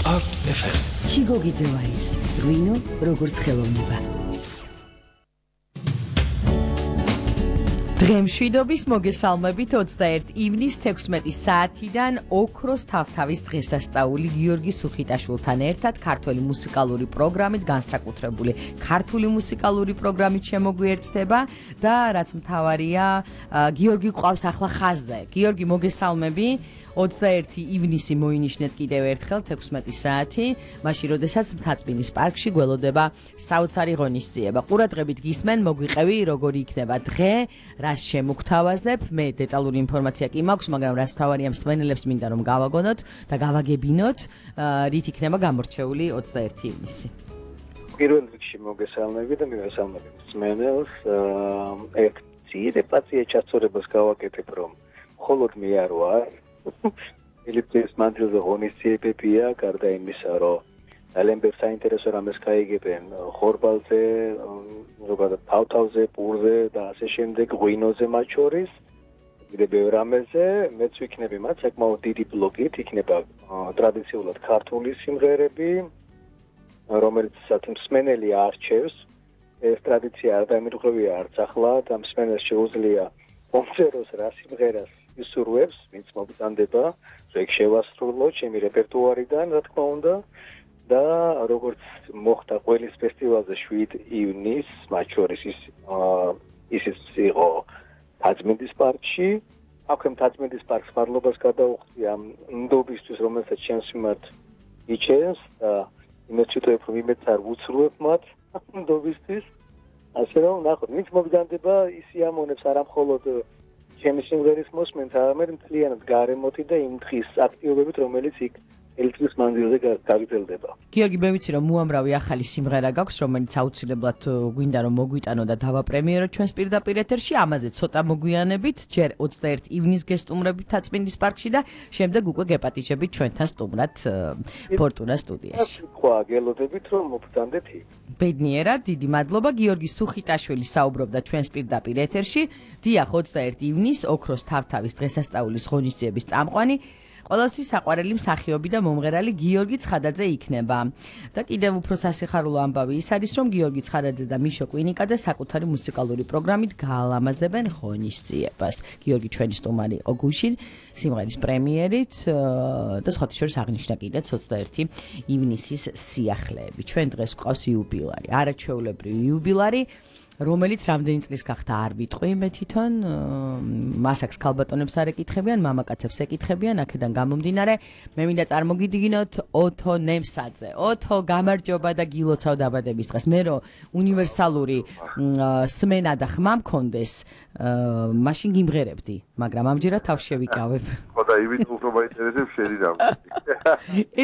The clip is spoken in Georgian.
Start FM. ჩიგოგიძევა ის რვინო როგორც ხელოვნება. დღემშვიდობის მოგესალმებით 21 ივნის 16 საათიდან ოქროს თავთავის დღესასწაული გიორგი სუხიტაშვილთან ერთად ქართული მუსიკალური პროგრამით განსაკუთრებული ქართული მუსიკალური პროგრამით შემოგვიერთდება და რაც მთავარია გიორგი ყავს ახლა ხაზზე. გიორგი მოგესალმები 21 ივნისი მოინიშნეთ კიდევ ერთხელ 16 საათი, მაშინ როდესაც მთაწმინდის პარკში გველოდება საოცარი ღონისძიება. ყურადღებით გისმენ, მოგვიყევი როგორი იქნება დღე, რას შემოგთავაზებ. მე დეტალური ინფორმაცია კი მაქვს, მაგრამ რას მთავარია მსმენელებს მინდა რომ გავაგონოთ და გავაგებინოთ, რით იქნება გამორჩეული 21 ივნისი. პირველ რიგში მოგესალმები და მივესალმები მსმენელს. ერთ ძირეპაცია ჩასწორებას გავაკეთებ, რომ მხოლოდ მე არ ვარ. Philippines მანძილზე ღონისძიებებია, გარდა იმისა, რომ ძალიან ბევრ საინტერესო რამეს გაიგებენ ხორბალზე, ზოგადად თავთავზე, პურზე და ასე შემდეგ, ღვინოზე მათ შორის. კიდევ ბევრ რამეზე, მეც ვიქნები მათ საკმაოდ დიდი ბლოკით, იქნება ტრადიციულად ქართული სიმღერები, რომელიც მსმენელი არჩევს. ეს ტრადიცია არ დამირღვევია არც ახლა და მსმენელს შეუძლია მომწეროს რა სიმღერას ისურვებს, ვინც მოგზანდება, ეგ შევასრულო ჩემი რეპერტუარიდან, რა თქმა უნდა, და როგორც მოხდა ყველის ფესტივალზე 7 ივნის, მათ შორის ისიც იყო მთაწმინდის პარკში. აქვე მთაწმინდის პარკს მადლობას გადაუხდი ამ ნდობისთვის, რომელსაც ჩემს მიმართ იჩენს და იმეც ვიტყვი, რომ იმეც არ ვუცრუებ მათ ნდობისთვის. ასე რომ ნახოთ, ვინც მოგზანდება, ის იამონებს არა მხოლოდ ჩემი სიმღერის მოსმენთ, არამედ მთლიანად გარემოთი და იმ დღის აქტივობებით, რომელიც იქ ელიტრის მანძილზე გაგრძელდება. გიორგი, მე ვიცი რომ უამრავი ახალი სიმღერა გაქვს, რომელიც აუცილებლად გვინდა რომ მოგვიტანო და დავაპრემიეროთ ჩვენს პირდაპირ ეთერში. ამაზე ცოტა მოგვიანებით, ჯერ 21 ივნის გესტუმრებით თაწმინდის პარკში და შემდეგ უკვე გეპატიჟებით ჩვენთან სტუმრად ფორტუნა სტუდიაში. თქვა გელოდებით რომ მოგზანდეთ იქ. ბედნიერად, დიდი მადლობა. გიორგი სუხიტაშვილი საუბრობდა ჩვენს პირდაპირ ეთერში. დიახ, 21 ივნის ოქროს თავთავის დღესასწაულის ღონისძიების წამყვანი ყველასთვის საყვარელი მსახიობი და მომღერალი გიორგი ცხადაძე იქნება. და კიდევ უფრო სასიხარულო ამბავი ის არის, რომ გიორგი ცხადაძე და მიშო კვინიკაძე საკუთარი მუსიკალური პროგრამით გაალამაზებენ ღონისძიებას. გიორგი ჩვენი სტუმარი იყო გუშინ სიმღერის პრემიერით და სხვათა შორის აღნიშნა კიდეც 21 ივნისის სიახლეები. ჩვენ დღეს გვყავს იუბილარი, არაჩვეულებრივი იუბილარი, რომელიც რამდენი წლის გახდა არ ვიტყვი მე თვითონ, მასაკს ქალბატონებს არ ეკითხებიან, მამაკაცებს ეკითხებიან, აქედან გამომდინარე, მე მინდა წარმოგიდგინოთ ოთო ნემსაძე. ოთო, გამარჯობა და გილოცავ დაბადების დღეს. მე რომ უნივერსალური სმენა და ხმა მქონდეს, მაშინ გიმღერებდი, მაგრამ ამჯერად თავს შევიკავებ. ხო და იმით უფრო მაინტერესებს შენი რამე.